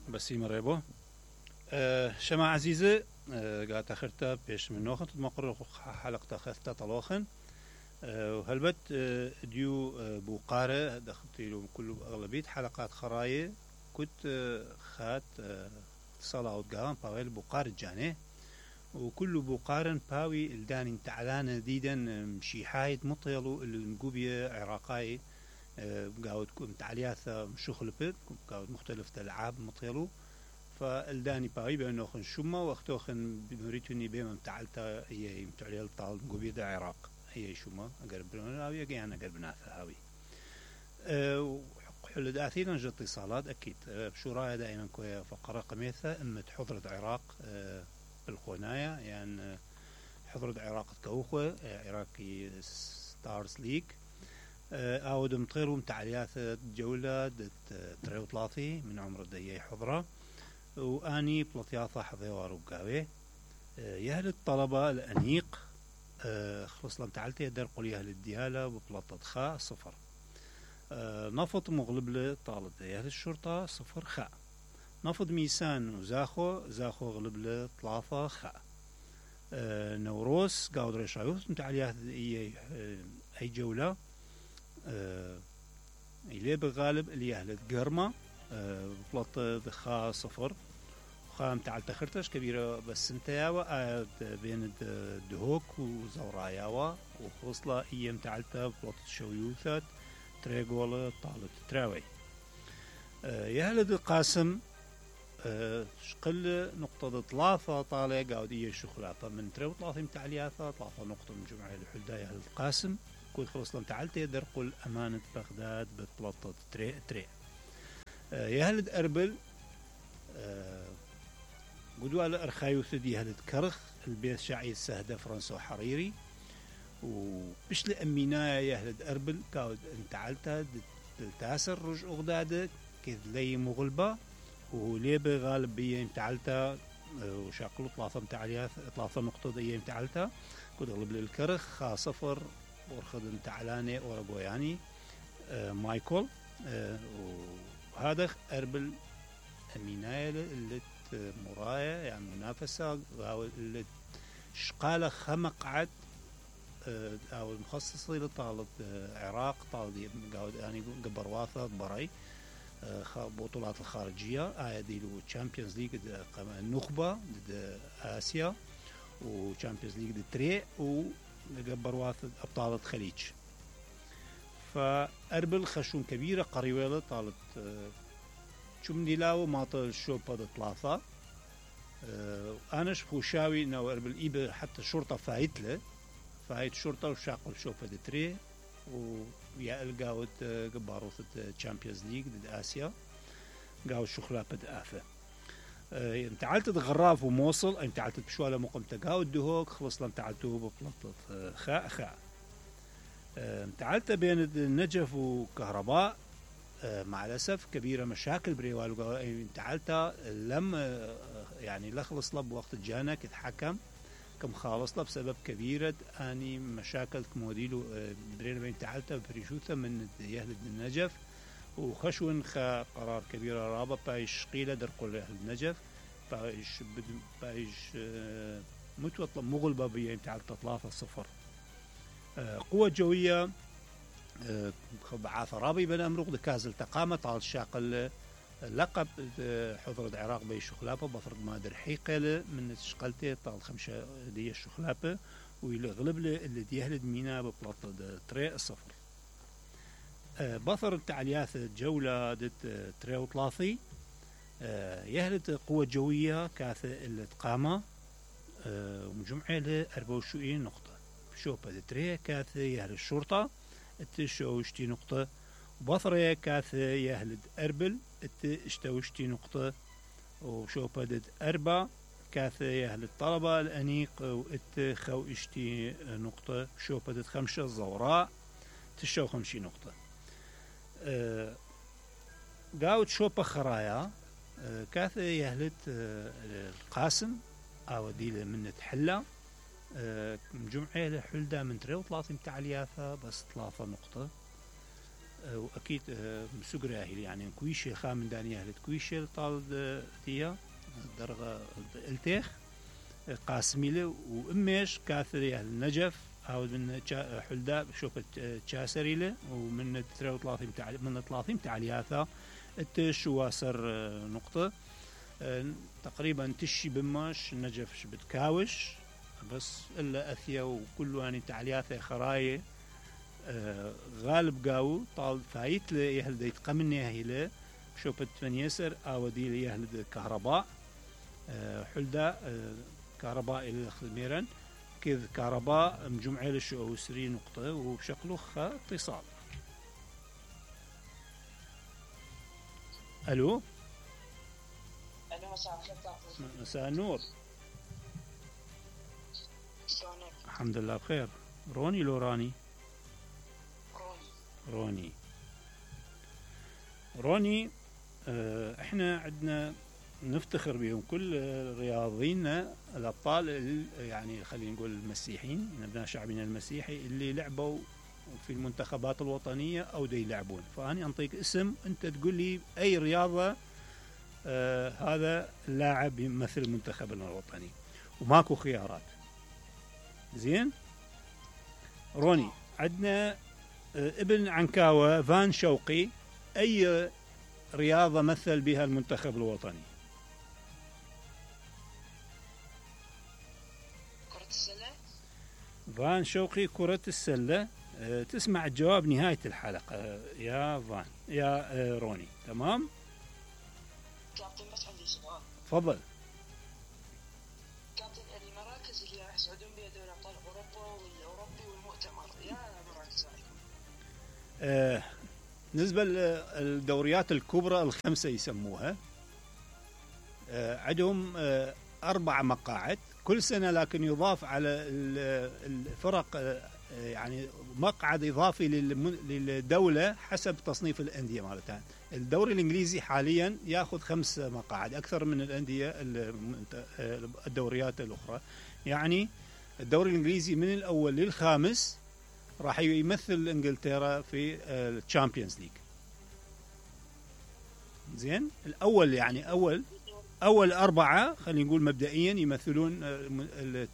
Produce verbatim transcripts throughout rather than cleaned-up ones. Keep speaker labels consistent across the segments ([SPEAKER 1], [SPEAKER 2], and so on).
[SPEAKER 1] بسيم ريبو أه شما عزيزة أه قاعد تاخرتا بيش من نوخن تتمقر حلقة خثتا طلوخن أه وهلبت أه ديو أه بوقارة دخلتي له كل أغلبية حلقات خراية كنت أه خات أه صلاة وتقام باويل بوقارة جاني وكل بوقارن باوي الداني تعلان ديدا مشي حايد مطيلو النقوبية عراقاي أه قاود تعليات مشوخل بيت قاود مختلف الألعاب مطيلو فالداني باوي بأنه خن شما واختوخن بمريتوني بما متعلتا هي متعليل طال نقوبية العراق هي شما أقرب هاوي أجينا أقرب ناثا هاوي أه حل داثينا جت اتصالات أكيد أه بشورايا دائما كويا فقرة قميثة أما حضرة عراق أه بالخونايا يعني حضرة عراق كوخة عراقي ستارز ليج أود مطيرو متعليات جولة تريو ثلاثي من عمر الدية حضرة وأني بلطياثة حضيوار وقاوي يهل الطلبة الأنيق خلص لم تعلتي درقوا لي أهل الديالة ببلطة خاء صفر نفط مغلب لطالب يهل الشرطة صفر خاء نفض ميسان وزاخو زاخو غلب له ثلاثة خاء أه نوروس قاود ريشايوث متعليات اي اي جولة أه اللي بغالب اللي اهل قرمة أه بلط خاء صفر خاء متعل تخرتش كبيرة بس انتياوة بين دهوك وزوراياوة وخوصلة اي متعلتها بلط شويوثات تريقول طالب تراوي أه يهلد القاسم أه شقل نقطة ثلاثة طالع قاودية شخلاطة من تريو ثلاثة متعلياثة ثلاثة نقطة من جمعية الحلداية القاسم كل خلص لم تعلت درقل أمانة بغداد بثلاثة تري تري أه يهلد أربل أه قدوا على أرخايوث دي يهلد كرخ البيت شعي السهدة فرنسا وحريري وبش لأمينايا يهلد أربل قاود انتعلتها تاسر رج أغدادك كذ لي مغلبة وليه بغالب بيه متعلتا وشاقلو ثلاثة متعليات ثلاثة نقطة ديه متعلتا كنت غلب للكرخ خا صفر ورخد متعلاني ورقوياني آه مايكل آه وهذا أربل أمينايا اللي مرايا يعني منافسة اللي شقالة خمقعد آه أو المخصصي لطالب آه عراق طالب قاود يعني قبرواثة بري بطولات الخارجية آية له تشامبيونز ليج النخبة ضد آسيا وتشامبيونز ليج ضد تري وقبر واثد أبطال الخليج فأربل خشون كبيرة قريبة طالت شم ديلاو ماطل الشوبة ضد ثلاثة أنا شفوشاوي إنه أربل إيبه حتى الشرطة فايت له فايت الشرطة وشاقل شوبة ضد تري ويا القاود قباروث الشامبيونز ليج ضد آسيا قاود شخلا بد آفة امتعلت غراف وموصل امتعلت بشوالة مقمت قاود دهوك خلص لم تعلتوه ببلطة خاء خاء امتعلت بين النجف وكهرباء مع الأسف كبيرة مشاكل بريوال امتعلت لم يعني لخلص لب وقت جانا كتحكم كم خالص له بسبب كبيرة أني مشاكل كموديلو برين بين تعلتها بريشوثة من يهلد النجف وخشون خا قرار كبيرة رابط بايش قيلة درقل يهلد النجف بايش بايش متوطلب مغلبة بين تعلتها ثلاثة صفر قوة جوية بعاثة رابي بن أمرق دكازل تقامة طال شاقل لقب حضرة العراق بي شخلابة بفرق مادر حيقلة من شقلتي طال خمسة دي الشخلابة ويغلب له اللي يهلد مينا ببلاطة تري الصفر أه بثر التعليات الجولة دت تري وثلاثي أه يهلد قوة جوية كاثة اللي تقامة أه ومجمعة له أربعة وعشرين نقطة بشوبة تري كاثة يهلد الشرطة التشوشتي نقطة بثرة كاثة يهلد أربل ات اشتوشتي نقطة وشوبة دد أربع كاثة يهل الطلبة الأنيق وات خو اشتي نقطة شوبة دد خمسة الزوراء تشو خمشي نقطة اه قاود شوبة خرايا اه كاثة يهلت اه القاسم او ديلة من تحلة اه مجمعة لحلدة من تري وثلاثة متعلياثة بس ثلاثة نقطة واكيد سجراهي يعني كويشه خام دانيه كويشه طال تيا درجه التيخ قاسميله وامش كاثريه النجف او من حلدا شوفت تشاسريله ومن ثلاثة وثلاثين تعلي من ثلاثين تعلياثا التشواسر نقطه تقريبا تشي بماش نجف بتكاوش بس الا اثيا وكل يعني تعلياثه خرايه غالب قاو طال فايت له يهل ديت قمني هيله شوفت فنيسر او دي لي يهل كهرباء حلدا كهرباء الى خميرا كذ كهرباء مجمعه للشو سري نقطه وبشكله خ اتصال. الو
[SPEAKER 2] الو مساء الخير.
[SPEAKER 1] مساء النور.
[SPEAKER 2] شلونك؟
[SPEAKER 1] الحمد لله بخير. روني لو راني؟
[SPEAKER 2] روني.
[SPEAKER 1] روني روني اه احنا عندنا نفتخر بهم كل رياضينا الابطال يعني خلينا نقول المسيحيين من ابناء شعبنا المسيحي اللي لعبوا في المنتخبات الوطنيه او دي يلعبون. فاني انطيك اسم انت تقول لي اي رياضه آه هذا اللاعب يمثل منتخبنا الوطني وماكو خيارات. زين روني عندنا آه ابن عنكاوه فان شوقي اي رياضه مثل بها المنتخب الوطني؟
[SPEAKER 2] كرة السلة.
[SPEAKER 1] فان شوقي كرة السلة. أه تسمع الجواب نهاية الحلقة أه يا فان يا أه روني. تمام
[SPEAKER 2] كابتن بس عندي سؤال.
[SPEAKER 1] تفضل.
[SPEAKER 2] كابتن المراكز اللي راح يصعدون بها دوري ابطال اوروبا والاوروبي والمؤتمر يا مراكز
[SPEAKER 1] أه بالنسبة للدوريات الكبرى الخمسة يسموها أه عندهم أه أربع مقاعد كل سنة لكن يضاف على الفرق أه يعني مقعد إضافي للدولة حسب تصنيف الأندية مالتها. الدوري الإنجليزي حاليا يأخذ خمس مقاعد أكثر من الأندية الدوريات الأخرى. يعني الدوري الإنجليزي من الأول للخامس راح يمثل انجلترا في الشامبيونز ليج. زين الأول يعني أول أول أربعة خلينا نقول مبدئيا يمثلون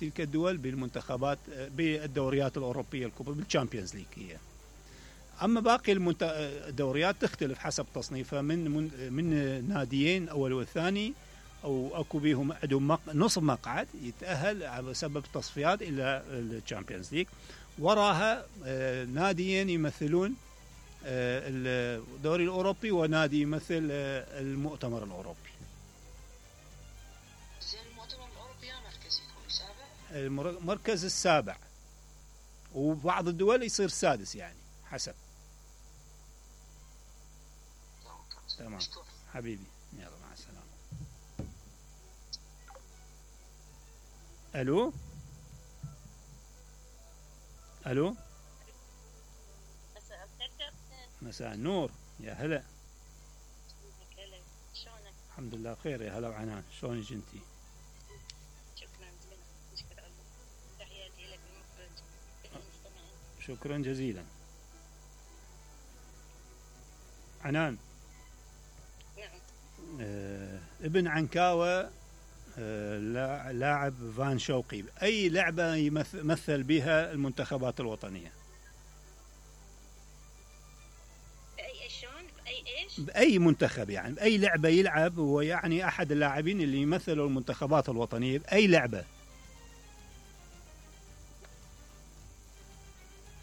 [SPEAKER 1] تلك الدول بالمنتخبات بالدوريات الأوروبية الكبرى بالشامبيونز ليج هي. أما باقي الدوريات تختلف حسب تصنيفها من من, من ناديين أول والثاني أو أكو بيهم عندهم نصف مقعد يتأهل على سبب تصفيات إلى الشامبيونز ليج. وراها ناديين يمثلون الدوري الأوروبي ونادي يمثل المؤتمر الأوروبي.
[SPEAKER 2] زين المؤتمر الأوروبي مركز يكون سابع؟
[SPEAKER 1] المركز السابع وبعض الدول يصير سادس يعني حسب. تمام حبيبي يلا مع السلامة. ألو ألو
[SPEAKER 3] مساء الخير كابتن.
[SPEAKER 1] مساء النور يا هلا.
[SPEAKER 3] شلونك؟
[SPEAKER 1] الحمد لله بخير يا هلا وعنان. شلونك انتي؟
[SPEAKER 3] شكرا جزيلا. نشكر الله. تحياتي لك المخرج المستمعين.
[SPEAKER 1] شكرا جزيلا. عنان.
[SPEAKER 3] نعم.
[SPEAKER 1] آه ابن عنكاوة آه لاعب فان شوقي أي لعبة يمثل بها المنتخبات الوطنية؟
[SPEAKER 3] بأي شلون؟ بأي إيش؟
[SPEAKER 1] بأي منتخب يعني بأي لعبة يلعب هو يعني أحد اللاعبين اللي يمثلوا المنتخبات الوطنية بأي لعبة؟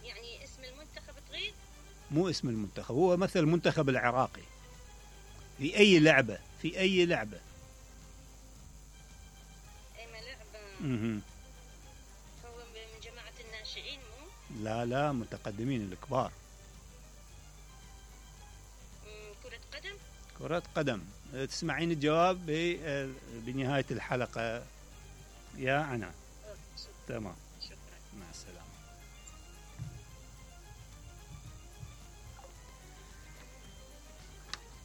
[SPEAKER 3] يعني اسم المنتخب تريد؟
[SPEAKER 1] مو اسم المنتخب هو مثل المنتخب العراقي في أي لعبة في أي لعبة
[SPEAKER 3] أي لعبة.
[SPEAKER 1] مه.
[SPEAKER 3] هو من جماعة الناشئين مو؟
[SPEAKER 1] لا لا متقدمين الكبار.
[SPEAKER 3] كرة قدم؟
[SPEAKER 1] كرة قدم. تسمعين الجواب بنهاية الحلقة يا عنان. تمام
[SPEAKER 3] شكرا.
[SPEAKER 1] مع السلامة.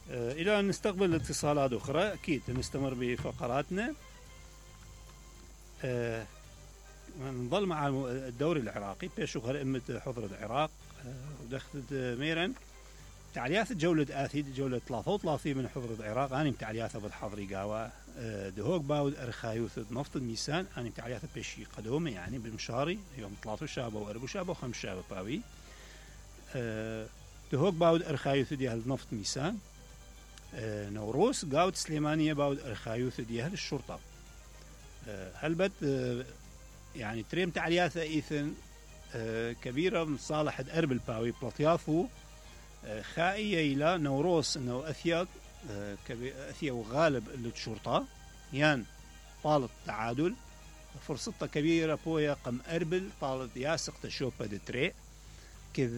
[SPEAKER 1] إلى أن نستقبل اتصالات أخرى أكيد نستمر بفقراتنا. أه نظل مع الدوري العراقي بيشوف أمة حضر العراق ودخلت ميرا تعليات جولة آثيد جولة ثلاثة وثلاثين من حضر العراق أنا متعليات بالحضري قاوة دهوك باود أرخايوث نفط الميسان أنا متعليات بشي قدومة يعني بالمشاري يوم ثلاثة شابة وأربع شابة وخمس شابة باوي دهوك باود أرخايوث ديال نفط ميسان نوروس قاود سليمانية باود أرخايوث ديال الشرطة هلبت يعني تريم تعليات إيثن كبيرة من صالح أربل باوي بلطيافو خائية إلى نوروس إنه أثيا أثيا وغالب الشرطة يان طالت تعادل فرصتها كبيرة بويا قم أربل طالت ياسق تشوبة دتري كذ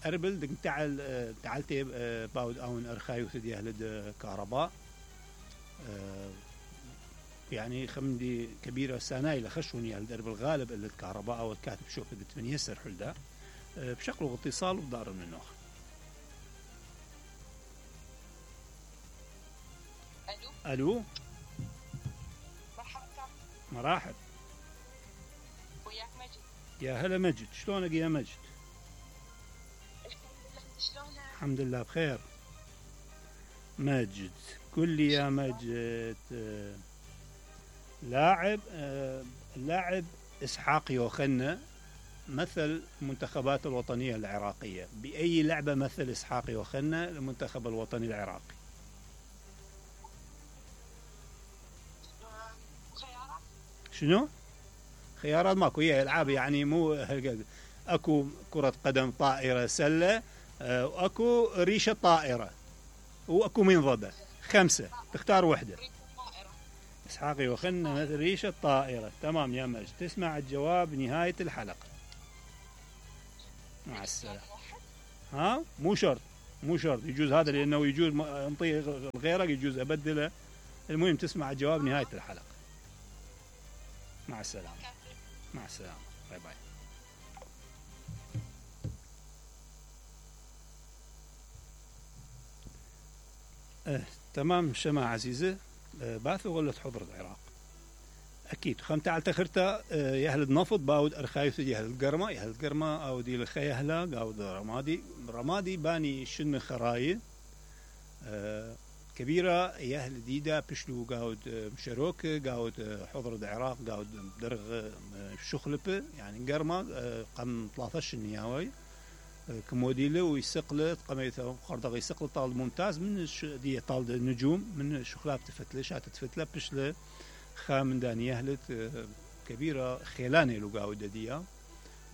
[SPEAKER 1] أربل دك تعال تعالتي باود أون أرخايو ثدي أهل كهرباء يعني خمدي كبيرة سناي لخشوني أهل أربل غالب اللي الكهرباء أو الكاتب شوفة دتمن يسر حلدا بشكل اتصال بدار من النوخ.
[SPEAKER 2] ألو
[SPEAKER 1] ألو
[SPEAKER 2] مرحبا
[SPEAKER 1] مراحب
[SPEAKER 2] وياك مجد.
[SPEAKER 1] يا هلا مجد شلونك يا مجد؟
[SPEAKER 2] الحمد لله انت شلونك؟
[SPEAKER 1] الحمد لله بخير. مجد قل لي يا مجد آه، لاعب آه، اللاعب إسحاق يوخنا مثل المنتخبات الوطنية العراقية بأي لعبة مثل إسحاق يوخنا المنتخب الوطني العراقي؟
[SPEAKER 2] خيارات
[SPEAKER 1] شنو؟ خيارات ماكو هي العاب يعني مو هالقد اكو كرة قدم طائرة سلة آه، واكو ريشة طائرة واكو منضدة خمسة تختار وحدة.
[SPEAKER 2] ريت الطائرة.
[SPEAKER 1] اسحاق يوخنا مثل ريشة طائرة. تمام يا مجد تسمع الجواب نهاية الحلقة. مع السلامة. ها مو شرط مو شرط يجوز هذا لانه يجوز انطي غيرك يجوز ابدله. المهم تسمع الجواب نهاية الحلقة. مع السلامة. مع السلامة. باي باي. اه تمام شماعة عزيزة اه باثو غلت حضر العراق أكيد خم تعال تخرتا اه يهل النفط باود أرخايث يهل القرمة يهل القرمة أو دي الخيهلا قاود رمادي رمادي باني شن خرايل اه كبيرة يهل ديدا بشلو قاود مشروك قاود حضر العراق قاود درغ شخلبة يعني قرمة قم ثلاثة النياوي كموديله ويسقله قميته خردق يسقله طال ممتاز من دي طال النجوم من شخلاب تفتله شات تفتله بشله خامن داني يهلت كبيرة خيلاني لو قاود ديا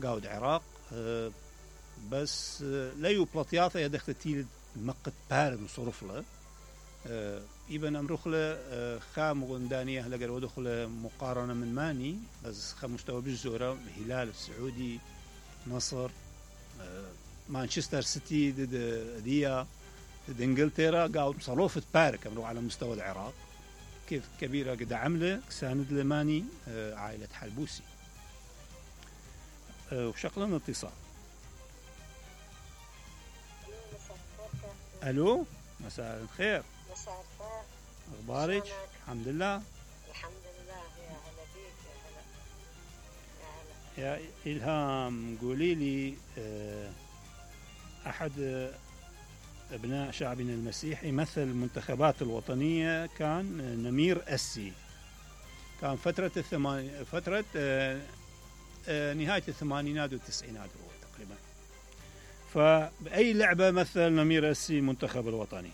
[SPEAKER 1] قاود عراق بس لا يبلطياثه يدخل تيل مقت بارد وصرف له إبن أمرخله خام غندانية لقر ودخله مقارنة من ماني بس خام مستوى بالزورة هلال السعودي مصر مانشستر سيتي ضد ديا ضد انجلترا قاعد مصروفة بارك أمرو على مستوى العراق كيف كبيرة قد عمله ساند لماني عائلة حلبوسي وشكلنا اتصال. ألو مساء الخير.
[SPEAKER 3] مساء الخير.
[SPEAKER 1] أخبارك؟
[SPEAKER 3] شلونك؟
[SPEAKER 1] الحمد لله.
[SPEAKER 3] الحمد لله. يا هلا بيك. يا هلا. يا هلا.
[SPEAKER 1] يا إلهام قولي لي أحد أبناء شعبنا المسيحي مثل المنتخبات الوطنية كان نمير أسي كان فترة الثمان فترة نهاية الثمانينات والتسعينات هو تقريبا. فبأي لعبة مثل نمير أسي المنتخب الوطني؟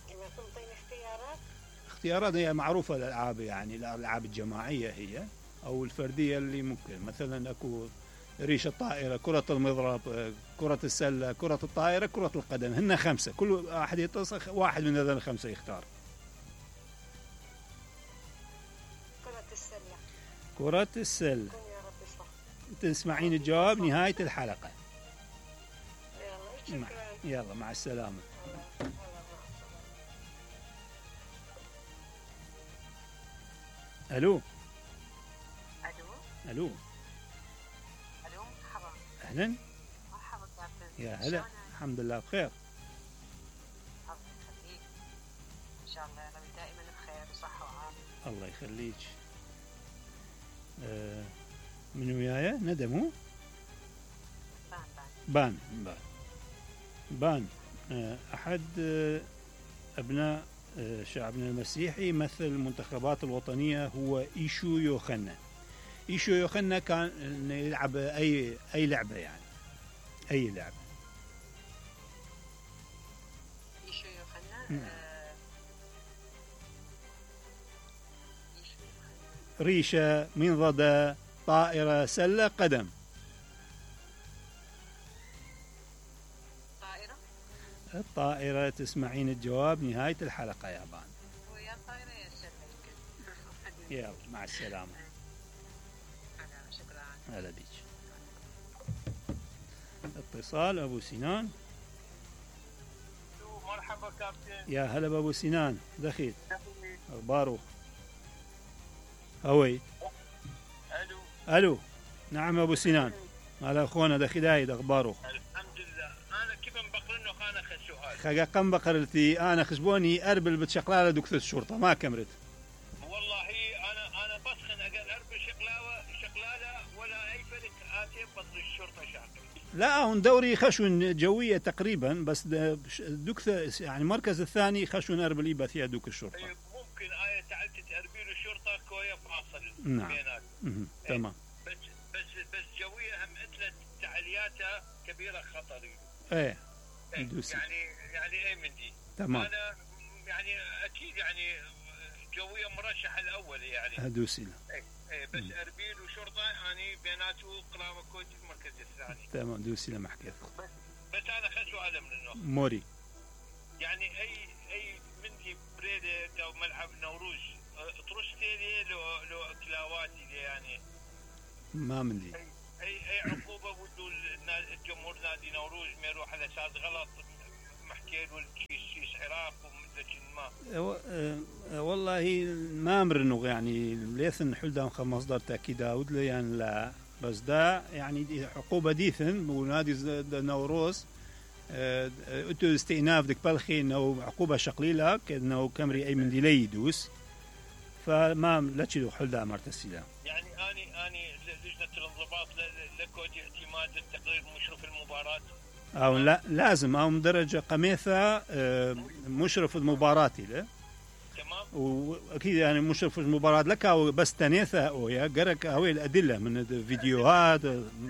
[SPEAKER 3] إذا تنطيني اختيارات.
[SPEAKER 1] اختيارات هي معروفة الألعاب يعني الألعاب الجماعية هي أو الفردية اللي ممكن مثلا أكو ريشة الطائرة كرة المضرب كرة السلة كرة الطائرة كرة القدم هن خمسة كل واحد يتصل واحد من هذول الخمسة يختار.
[SPEAKER 3] كرة السلة.
[SPEAKER 1] كرة السلة.
[SPEAKER 3] كن يا رب صح.
[SPEAKER 1] تسمعين الجواب نهاية الحلقة.
[SPEAKER 3] يلا
[SPEAKER 1] مع...
[SPEAKER 3] شكرا.
[SPEAKER 1] يلا مع السلامة.
[SPEAKER 3] يلا، مع السلامة.
[SPEAKER 1] ألو
[SPEAKER 2] ألو
[SPEAKER 1] ألو
[SPEAKER 2] ألو مرحبا.
[SPEAKER 1] أهلا
[SPEAKER 2] مرحبا كابتن.
[SPEAKER 1] يا هلا
[SPEAKER 2] شلونك؟
[SPEAKER 1] الحمد لله بخير.
[SPEAKER 2] الله يخليك. إن شاء الله يا رب دائما بخير وصحة وعافية.
[SPEAKER 1] الله يخليك. آه من وياي ندى مو
[SPEAKER 2] بان بان.
[SPEAKER 1] بان بان بان آه، أحد آه، أبناء آه، شعبنا المسيحي مثل المنتخبات الوطنية هو إيشو يوخنا. إيشو يوخنا كان إنه يلعب أي أي لعبة يعني أي لعبة.
[SPEAKER 2] يشو يوخنا
[SPEAKER 1] مم.
[SPEAKER 2] آه، يشو يوخنا.
[SPEAKER 1] ريشة، منضدة، طائرة، سلة، قدم.
[SPEAKER 2] طائرة.
[SPEAKER 1] الطائرة تسمعين الجواب نهاية الحلقة يا بان.
[SPEAKER 2] ويا طائرة يا سلة يمكن.
[SPEAKER 1] يلا مع السلامة.
[SPEAKER 2] أنا شكرا.
[SPEAKER 1] هلا بيك. اتصال أبو سنان.
[SPEAKER 4] مرحبا كابتن.
[SPEAKER 1] يا هلا بأبو سنان، دخيل أخباره؟ هوي.
[SPEAKER 4] الو.
[SPEAKER 1] ألو. نعم أبو سنان. هلا أخونا دخيل هايد أخباره؟
[SPEAKER 4] الحمد لله. انا كيف مبقرنه خانه خ سؤال.
[SPEAKER 1] خجا قم بقرلتي أنا خشبوني أربل بتشقلالة دكتور الشرطة ما كمرت.
[SPEAKER 4] والله انا انا بسخن اقل اربع شقلاوه شقلاله ولا اي فرق اتي بطل الشرطه شاكر.
[SPEAKER 1] لا هون دوري خشون جوية تقريبا بس دكتور يعني المركز الثاني خشون أربل يبقى فيها دوك الشرطة.
[SPEAKER 4] إيه، ممكن ايه تعلت اربيل الشرطه كويه فاصل
[SPEAKER 1] نعم.
[SPEAKER 4] بينات.
[SPEAKER 1] مهم. تمام.
[SPEAKER 4] بس بس بس جويه هم اتلت تعلياتها كبيره خطر.
[SPEAKER 1] ايه
[SPEAKER 4] إيه،
[SPEAKER 1] دوسي.
[SPEAKER 4] يعني يعني ايه من دي.
[SPEAKER 1] تمام.
[SPEAKER 4] انا يعني اكيد يعني جويه مرشح الاول يعني.
[SPEAKER 1] هدوسي له.
[SPEAKER 4] ايه ايه بس اربيل وشرطه يعني بيناته قرابه كويت المركز الثاني.
[SPEAKER 1] تمام دوسي له محكيت.
[SPEAKER 4] بس بس انا خذ سؤال من النص.
[SPEAKER 1] موري.
[SPEAKER 4] يعني اي اي مندي بريده او ملعب نوروز ترستي لو لو كلاواتي دي يعني.
[SPEAKER 1] ما مندي.
[SPEAKER 4] اي اي, أي عقوبه بدو الجمهور نادي نوروز ما يروح على اساس غلط محكي له شيء عراق ومدة ما.
[SPEAKER 1] أه أه والله ما امرنو يعني ليثن حلدان خ مصدر تاكيد داود لي يعني لا بس دا يعني دي عقوبه ديثن ونادي نوروز أه اتو استئناف ديك بالخي انه عقوبه شقليله كانه كمري اي من دي لي يدوس فما لا تشيلو حلدان مرتسيلا.
[SPEAKER 4] يعني اني اني لجنه الانضباط لكود اعتماد التقرير مشرف المباراه.
[SPEAKER 1] أو لا لازم أو درجة قميثة مشرف المباراة له.
[SPEAKER 4] تمام.
[SPEAKER 1] وأكيد يعني مشرف المباراة لك أو بس تنيثة أو يا جرك هوي الأدلة من الفيديوهات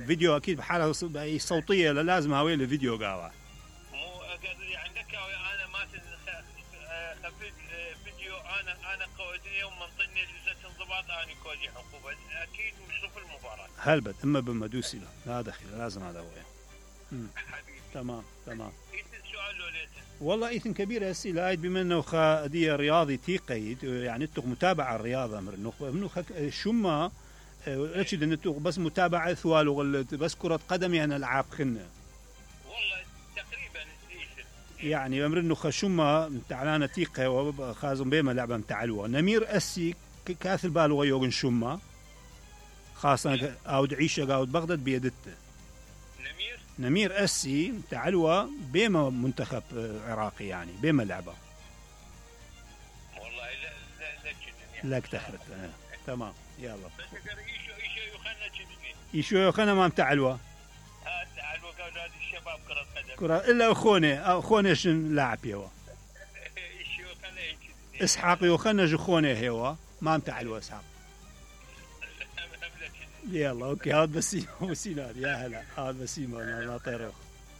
[SPEAKER 1] فيديو أكيد بحالة صوتية لازم هوي الفيديو قاوة.
[SPEAKER 4] مو قصدي عندك أنا ما خفيت فيديو أنا أنا قودني يوم منطني لجنة انضباط أنا كودي عقوبة أكيد مشرف المباراة.
[SPEAKER 1] هلبت إما بمدوسي له لا دخل لازم هذا هو.
[SPEAKER 4] حبيبي.
[SPEAKER 1] تمام تمام.
[SPEAKER 4] إيثن سؤال لو ليتن.
[SPEAKER 1] والله إيثن كبير هسي لايد بما إنه خادية رياضي تيقيد يعني تق متابعة الرياضة من النخبة منو خك شما أشيد إن تق بس متابعة ثوال وغلت بس كرة قدم يعني ألعاب خنة.
[SPEAKER 4] والله تقريبا إيثن.
[SPEAKER 1] يعني أمر إنه خشما تعلانة تيقة وخازم بيما لعبة متعلوة نمير أسي كاث البالغة يوغن شما خاصة أو عيشة أو بغداد بيدته.
[SPEAKER 4] نمير.
[SPEAKER 1] نمير أسي تعلوة بيما منتخب عراقي يعني بيما لعبة.
[SPEAKER 4] والله لا لا لا كذا.
[SPEAKER 1] لا تخرت آه. تمام يلا.
[SPEAKER 4] بس أقدر إيشو إيشو يخلنا كذا.
[SPEAKER 1] يشو يخنا ما متعلوة.
[SPEAKER 4] هذا على وقت الشباب كرة قدم.
[SPEAKER 1] كرة إلا أخونه أخونه شن لاعب يوا.
[SPEAKER 4] إيشو يخلنا كذا.
[SPEAKER 1] إسحاق يخنا جخونه هوا ما متعلوة إسحاق. يلا أوكي هذا بسيم وسينار يا هلا هذا بسيم أنا لا طيروخ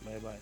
[SPEAKER 1] باي باي.